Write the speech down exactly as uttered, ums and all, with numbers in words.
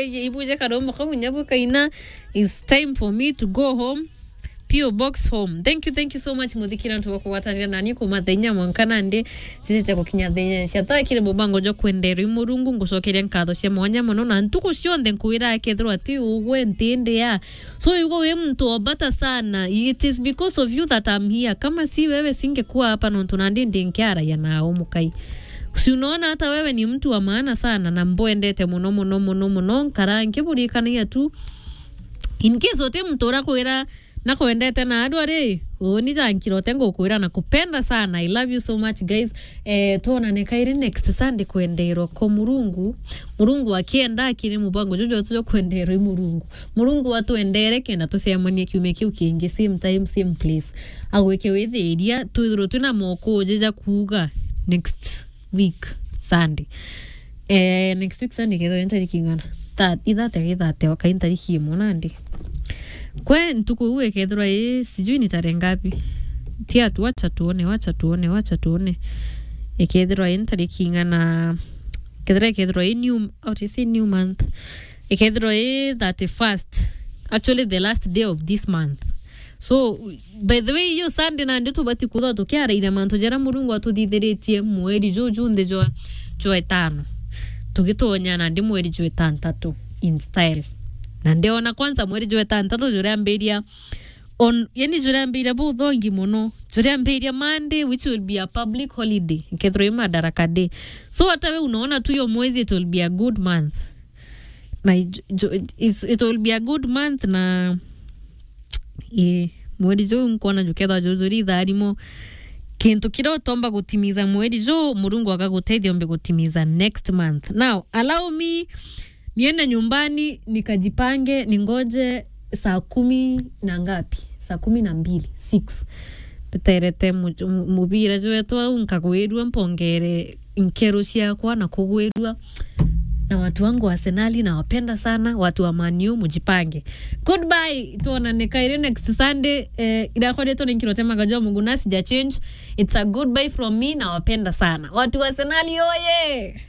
Ibuje karomo kau nya bukaina, it's time for me to go home. P O Box Home. Thank you, thank you so much, muthikira antu bakugwatanira nani kumathenya mwanka nandi. Sisi cha gukinya thenya cia thakire mubango jo kwenderwa i Murungu, ngucokeria nkatho cia mwanya muno, na ntuku cionthe nkwira akethirwa ati ugwe ntindi ya. So, yugo wi muntu obata sana. It is because of you that I'm here. Kama si wewe, singekuwa hapa nontu nandi ndinkiaragia nao mukai. Si unaona hata wewe ni mtu wa maana sana na mbwendete muno, muno, muno, muno. Nkara nkiburikanagia tu. In case uti muntu urakwira nakwendete na adwa ri, uni jankirote ngukwira na kupenda sana. I love you so much, guys. Eh, tuonane kairi next Sunday kwenderwa ko Murungu. Murungu akienda akiri mubango juju tujo kwenderwa i Murungu. Murungu atwendere kenda tucemanie kiumia kiu kingi, same time, same place. Agwike withiria, twithirwe twina moko uji ja kuuga next week Sunday. Eh, next week Sunday kethirwa ni tariki ing'ana? Tha-, ithate, ithate, okai tariki imwe nandi. Kwe ntuku iu ikethirwa i, sijui ni tarehe ngapi? Tia tu, wacha tuone, wacha tuone, wacha tuone. Ikethirwa i tariki ing'ana? Kethirwa, ikethirwa i new, how do you say new month? Ikethirwa i thirty-first. Actually, the last day of this month. So, by the way, iyo Sunday nandi tubati kuthwa tukiaraira mantu jaria Murungu atuthithiritie mweri juju nthi jwa, jwa itano. Tugitonya nandi mweri jwa itantatu in style. Na ndiona kwanza mweri jwa itantatu juriambiria on, yani juriambiria buthongi muno. Juriambiria Monday, which will be a public holiday. Ikethirwa i Madaraka Day. So hata we unaona tu hiyo mwezi, it will be a good month. Na ijo-, ijo-, it's, it will be a good month na, eh, mweri juu nkwona jukethwa jujuri itharimo. Kintu kiria utomba gutimiza mweri juu, Murungu agagutethia umbe gutimiza next month. Now, allow me niende nyumbani, nikajipange, ningoje saa kumi na ngapi? Saa kumi na mbili, six. Mbeterete mu-, mu-, mubira jwetwa au, nkagwirua, mpongere nkero ciakwa na kugwirua. Na watu wangu wa Arsenal, nawapenda sana. Watu wa Man U, mujipange. Goodbye, tuonane kairi next Sunday. Eh, irakwa ritwa ni Nkirote Magajo Muguna, sija change. It's a goodbye from me, nawapenda sana. Watu wa Arsenal, oye!